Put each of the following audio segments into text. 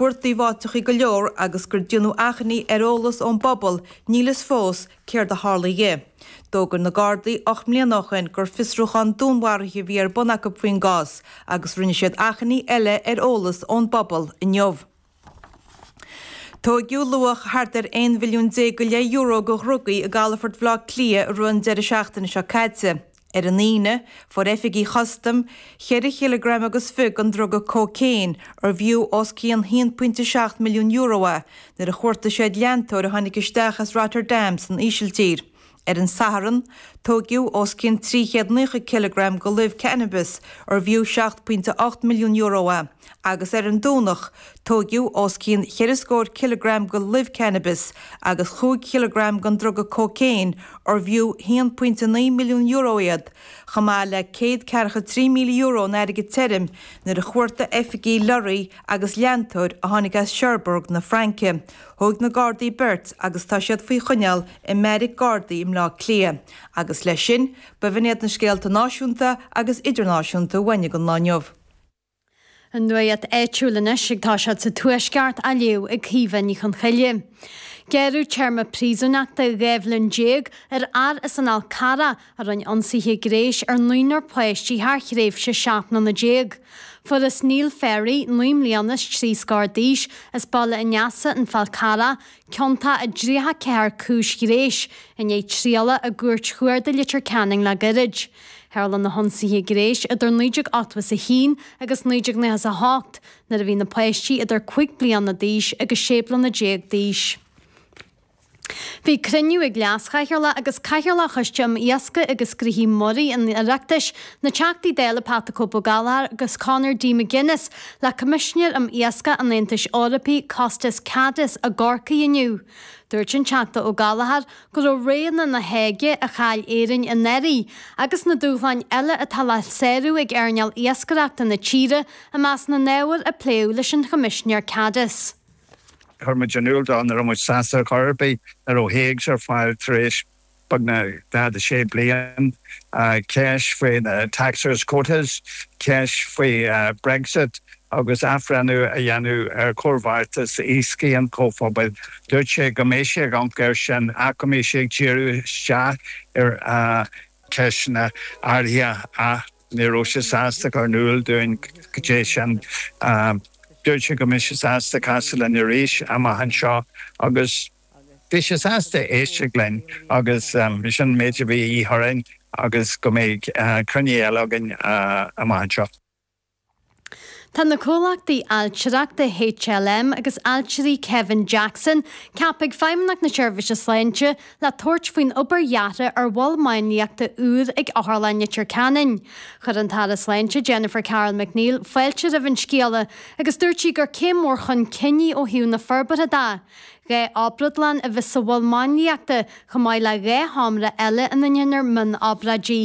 Cuartaíodh áiteachaí go leor agus gur déanadh achainí ar eolas ón bpobal, níl fhios fós céard a tharla dhi. D'fhógair na Gardaí 8 mbliana ó shin gur fiosrúchán dúnmharaithe a bhí ar bun acu faoin gcás agus rinne siad achainí eile ar eolas ón bpobal inniu. Tóigeadh luach thart ar 11 mhilliún go leith euro de dhrugaí i gcalafort Bhaile Átha Cliath i rith an deireadh seachtaine seo caite. Ar an Aoine, fuair oifigigh chustaim cheithre chileagram agus fiche den druga cócaon, arbh fhiú os cionn €1.7 milliún é, nuair a chuartaigh siad leantóir a tháinig isteach as Rotterdam san Ísiltír. Ar an Satharn, tóigeadh os cionn 390 cileagram de luibh cannabis, arbh fhiú €7.8 milliún é, agus ar an Domhnach, tóigeadh os cionn cheithre scór cileagram de luibh cannabis agus chúig chileagram den druga cócaon, arbh fhiú €1.9 milliún iad, chomh maith le €143,000 in airgead tirim, nuair a chuartaigh oifigigh lorraí agus leantóir a tháinig as Cherbourg na Fraince. Thóig na Gardaí beirt agus tá siad faoi choinneáil i mbeairic Gardaí i mBleá Cliath. Agus leis sin, b'in iad na scéalta náisiúnta agus idirnáisiúnta uainn don lá inniu. An nuacht áitiúil anois ag toiseacht sa Tuaisceart á léamh ag Caoimhe Ní Chonchoille. Gearradh téarma príosúnachta 12 bhliain ar fhear as an Fhál Carrach a rinne ionsaithe gnéis ar naonúr páistí thar thréimhse 17 mbliana. Fuarthas Neil Ferry, 9 mbliana is 3 scór d'aois, as Baile an Easa, An Fál Carrach, ciontach i 34 cúis ghnéis, i ndiaidh trialach i gCúirt Chuarda Leitir Ceanainn le gairid. Tharla na hionsaithe gnéis idir 1981 agus 1998, nuair a bhí na páistí idir 5 bliana d'aois agus 16 bliana d'aois. Bhí cruinniú ag Leas-Chathaoirleach agus Cathaoirleach Choiste um Iascaigh agus Gnoithí Muirí an Oireachtais, na Teachtaí Dála Pat 'The Cope Ó Gallchóir agus Conor D McGuinness, le Coimisinéir um Iascach an Aontais Eorpaigh, Costas Kadis, i gCorcaigh inniu. Dúirt an Teachta Ó Gallchóir go raibh roghanna na hÓige a chaill Éirinn anuraidh agus na dúshláin eile atá le sárú ag earnáil iascaireachta na tíre i measc na n-ábhar a pléadh leis an Choimisinéir Kadis. Chuir muid in iúl dó nach raibh muid sásta ar chor ar bith nach raibh HAGs ar fáil tar éis beagnach 46 bliain, ceist faoi na taxers quotas, ceist faoi Brexit agus athbhreithniú a dhéanamh ar chomhbheartas iascaigh an Chomhphobail. Dúirt sé go mbeidh sé ag amharc air sin ach go mbeidh sé ag díriú isteach ar cheisteanna áirithe ach ní raibh sé sásta cur in iúl dúinn cad é sin. Dúirt sé go mbeidh sé sásta casadh linn arís amach anseo agus bhí sé sásta éisteacht linn agus sin an méid a bhí a dhíth orainn agus go mbeidh cruinniú eile againn amach anseo. Tá na comhlachtaí ailtireachta HLM agus Ailtirí Kevin Jackson ceaptha ag Feidhmeannacht na Seirbhíse Sláinte le tabhairt faoin obair dheartha ar mhol máinliachta úr ag Otharlann Leitir Ceanainn. Chuir an tAire Sláinte Jennifer Carroll MacNeill fáilte roimh an scéala agus dúirt sí gur céim mhór chun cinn í ó thaobh na forbartha de. 2 obrádlann a bheas sa mhol máinliachta chomh maith le 2 sheomra eile ina ndéanfar mion-obráidí.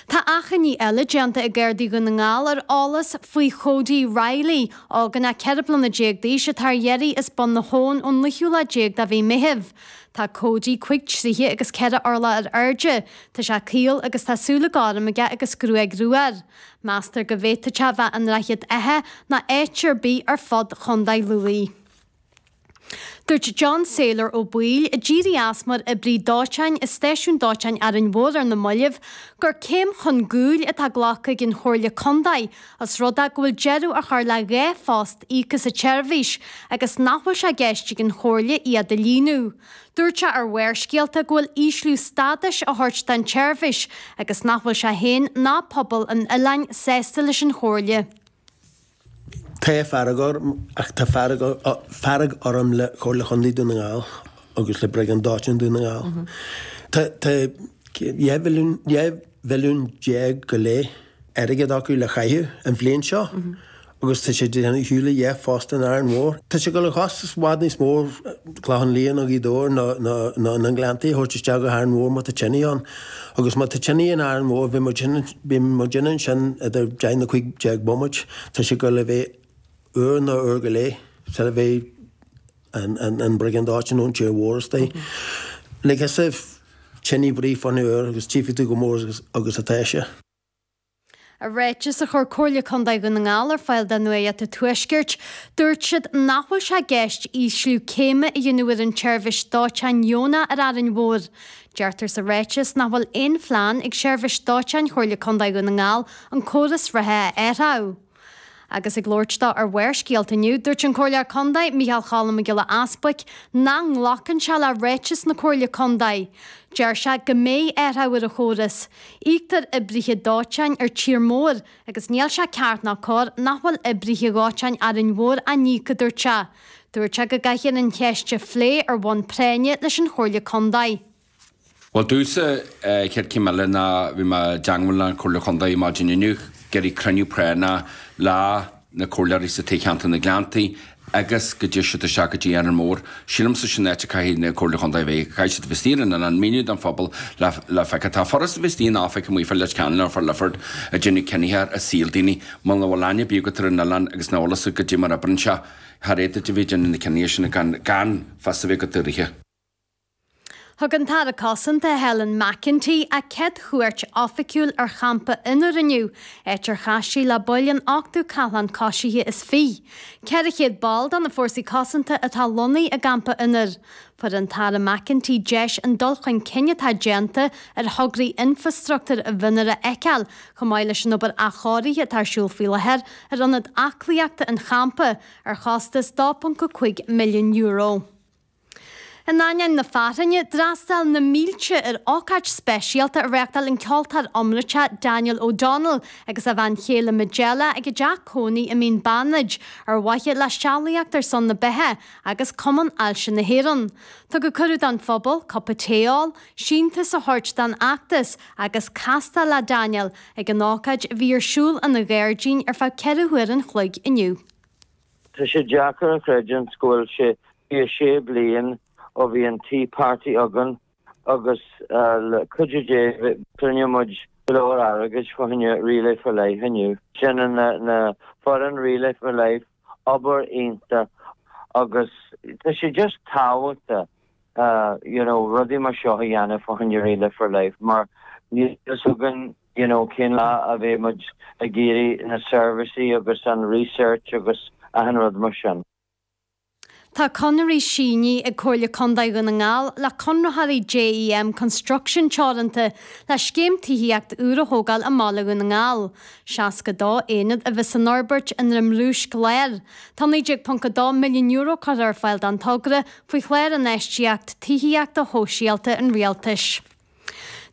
Tá achainí eile déanta ag Gardaí Dhún na nGall ar eolas faoi Chody Reilly, ógánach 14 bliana d'aois atá ar iarraidh as Bun na hAbhann ón naoú lá déag de mhí Meithimh. Tá Cody 5 troighe agus 4 orlach ar airde, tá sé caol agus tá súile gorm aige agus gruaig rua air. Meastar go bhféadfadh sé a bheith i nDroichead Átha nó áit ar bith ar fud Chontae Lú. Dúirt John Sailor Ó Baoill, a d'éirigh as mar oibrí dóiteáin i Stáisiún Dóiteáin Árainn Mhór ar na mallaibh, gur céim chun gcúil atá glactha ag an Chomhairle Contae os rud é go bhfuil deireadh á chur le 2 phost íoctha sa tseirbhís agus nach bhfuil sé i gceist ag an Chomhairle iad a líonadh. Dúirt sé ar Bharrscéalta go bhfuil ísliú stádais á thabhairt don tseirbhís agus nach bhfuil sé féin ná pobal an oileáin sásta leis an Chomhairle. Tá fearg orm, ach tá fearg orm le Comhairle Chontae Dún na nGall agus le Briogáid Dóiteáin Dún na nGall. Tá 12 mhilliún go leith airgead acu le chaitheamh an bhliain seo agus tá siad ag déanamh shiúl le 2 phost in Árainn Mhór. Tá sé ag dul a chostas i bhfad níos mó Clochán Liath nó Gaoth Dobhair nó na Gleanntaí a thabhairt isteach go hÁrainn Mhór má tá tine ann. Agus má tá tine in Árainn Mhór bhí muid bhí muid ansin idir 10 nó 15 bomaite, tá sé ag dul a bheith uair nó uair go leith sula mbeidh an briogáid dóiteáin ón tír mhór istigh. Like as if tine brí fá choinne uair agus tchífidh tú chomh mór agus atá sé. I ráiteas a chuir Comhairle Contae Dhún na nGall ar fáil do Nuacht an Tuaiscirt, dúirt siad nach bhfuil sé i gceist ísliú céime a dhéanamh ar an tseirbhís dóiteáin dheonach ar Árainn Mhór. Deirtear sa ráiteas nach bhfuil aon phlean ag Seirbhís Dóiteáin Chomhairle Contae Dhún na nGall an córas reatha a athrú. Agus ag labhairt dó ar Bharrscéalta inniu, dúirt an Comhairleoir Contae, Micheál Cholm Mac Giolla Easbuic, nach nglacann sé le ráiteas na Comhairle Contae. Deir sé go mbeidh athrú ar an chóras. Íoctar oibrithe dóiteáin ar tír mór agus níl sé ceart ná cóir nach bhfuil oibrithe dhóiteáin Árainn Mhór á n-íoc, a dúirt sé. Dúirt sé go gcaithfear an cheist a phlé ar bhonn práinne leis an Chomhairle Contae. Bhuel, domhsa, chéad chéim eile ná bhí mé i dteangmháil le an Chomhairle Chontae maidin inniu, ag iarraidh cruinniú práinneach le na comhairleoirí sa toghcheantar na Gleanntaí agus go dté siad isteach go dtí Árainn Mhór. Sílimse sin an áit a caithfidh na Comhairle Chontae a bheith, caithfidh siad a bheith istigh ar an oileán, míniú don phobal le le feiceáil. Tá furast a bheith istigh in oifig amuigh fá Leitir Ceanainn nó fá Lifford ag déanamh cinnithe ar saol daoine. Muna bhfuil aithne ar bith agat ar an oileán agus nach bhfuil fhios agat goidé mar oibríonn sé, char fhéadfá a bheith ag déanamh na cinnithe sin gan gan fios a bheith agat uirthi. Thug an tAire Cosanta Helen McEntee a céad chuairt oifigiúil ar champa Fhionnúr inniu, áit ar chas sí le baill an Ochtú Cathlán Coisithe is Fiche. 400 ball de na Fórsaí Cosanta atá lonnaithe i gcampa Fhionnúir. Fuair an tAire McEntee deis an dul chun cinn atá déanta ar thograí infreastruchtúir i bhFionnúr a fheiceáil, chomh maith leis an obair athchóirithe atá ar siúl faoi láthair ar ionad aclaíochta an champa, ar chostas €2.5 milliún. In ainneoin na fearthainne, d'fhreastail na mílte ar ócáid speisialta a reáchtáil an ceoltóir iomráiteach Daniel O'Donnell agus a bhean chéile Majella ag a dteach cónaí i Mín Bannaid ar mhaithe le Sealaíocht ar son na Beatha agus Cumann Ailse na hÉireann. Tugadh cuireadh don phobal cupa tae a ól, síntiús a thabhairt don fheachtas agus castáil le Daniel ag an ócáid a bhí ar siúl ina ghairdín ar feadh 4 huaire an chloig inniu. Tá sé deacair a chreidiúint go bhfuil sé 26 bliain ó bhí an Tea Party againn agus le cuidiú Dé chruinnigh muid go leor airgid fá choinne Relay for Life inniu. Déanann na foireann Relay for Life obair iontach agus tá sé just tábhachtach you know rudaí mar seo a dhéanamh fá choinne Relay for Life mar níl fhios againn you know cén lá a bheidh muid ag iarraidh na seirbhísí agus an research agus achan rud mar sin. Tá conairí sínithe ag Comhairle Contae Dhún na nGall le conraitheoirí JEM Construction Teoranta le scéim tithíocht úr a thógáil i mbaile Dhún na nGall. 62 aonad a bheas san fhorbairt i nDroim Rúisc Láir. Tá €19.2 milliún curtha ar fáil don togra faoi Chlár Infheistíocht Tithíochta Shóisialta an Rialtais.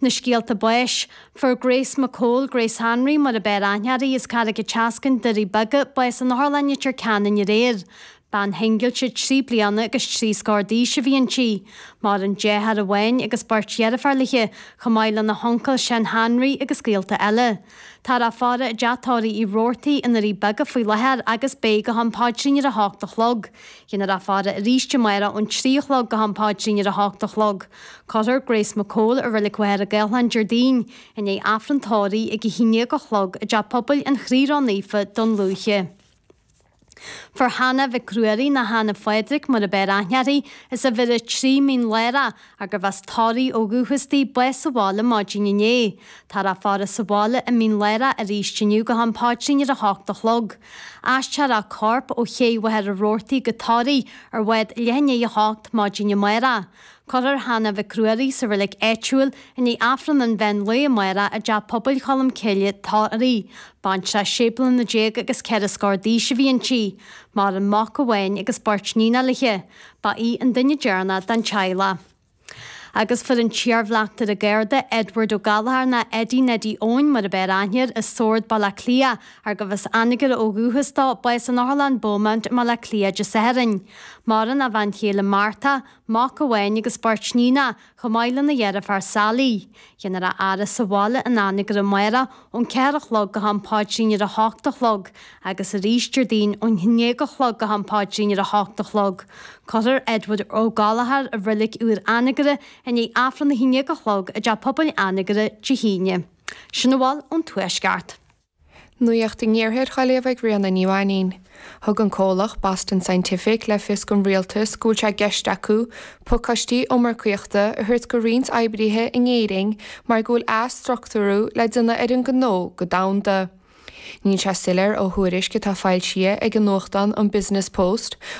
Na scéalta báis. Fuair Grace McCole, Grace Hanraí mar a b'fhearr aithne uirthi, as Carraig an tSeascainn, Doirí Beaga, bás in Otharlann Leitir Ceanainn aréir. Bean shingilte 3 bliana agus 3 scór d'aois a bhí inti. Maireann deartháir amháin agus beirt dheirféar léi, chomh maith lena huncail Seán Hanraí agus gaolta eile. Táthar á faire i dteach tórraimh Uí Robhartaigh i nDoirí Beaga faoi láthair agus beidh go ham paidrín ar a hocht a chlog. Dhéanfar á faire arís amárach ón 3 a chlog go ham paidrín ar a hocht a chlog. Cuirfear Grace McCole i Reilig Mhachaire Gathlán Déardaoin, i ndiaidh Aifreann tórraimh ag 11 a chlog i dTeach Pobail an Chroí Ró-Naofa, Dún Lúiche. Fuair Hannah Mhic Ruairí nó Hannah Phádraig mar a b'fhearr aithne uirthi, as uimhir 3 Mín Lárach, gurbh as Toraigh ó dhúchas di, bás sa bhaile maidin inné. Táthar á faire sa bhaile i Mín Lárach arís inniu go ham paidrín ar a hocht a chlog. Aistreofar a corp ó Ché Mhachaire Rabhartaigh go Toraigh ar bhád leath i ndiaidh a hocht maidin amárach. Cuirfear Hannah Mhic Ruairí sa reilig áitiúil i ndiaidh Aifreann an mheán lae amárach i dTeach Pobail Cholm Cille, Toraigh. Baintreach sé bliana déag agus ceithre scór d'aois a bhí inti. Maireann mac amháin agus beirt níonacha léi. Ba í an duine deireanach den teaghlach. Agus fuair an t-iarbhleachtaire Garda, Edward Ó Gallchóir nó Eddie Neidí Eoin mar a b'fhearr aithne air, as Sord, Baile Átha Cliath, ar gurbh as Anagaire ó dhúchas dó, bás in Otharlann Beaumont i mBaile Átha Cliath Dé Sathairn. Maireann a bhean chéile Martha, mac amháin agus beirt níonacha, chomh maith lena dheirfiúr Sally. Déanfar a fhaire sa bhaile in Anagaire amárach ón 4 a chlog go ham paidrín ar a hocht a chlog agus arís Déardaoin ón 11 a chlog go ham paidrín ar a hocht a chlog. Cuirfear Edward Ó Gallchóir i reilig úr Anagaire i ndiaidh Aifreann a 11 a chlog i dTeach Pobail Anagaire Dé hAoine. Sin a bhfuil ón Tuaisceart. Nuacht an Iarthair á léamh ag Ríona Ní Mhainín. Thug an comhlacht Boston Scientific le fios don rialtas go bhfuil sé i gceist acu pacáistí iomarcaíochta a thabhairt go roinnt oibrithe in Éirinn mar go bhfuil athstruchtúrú le déanamh ar an ngnó go domhanda. Níl sé soiléir ó thuairisc atá foilsithe ag an nuachtán an Business Post.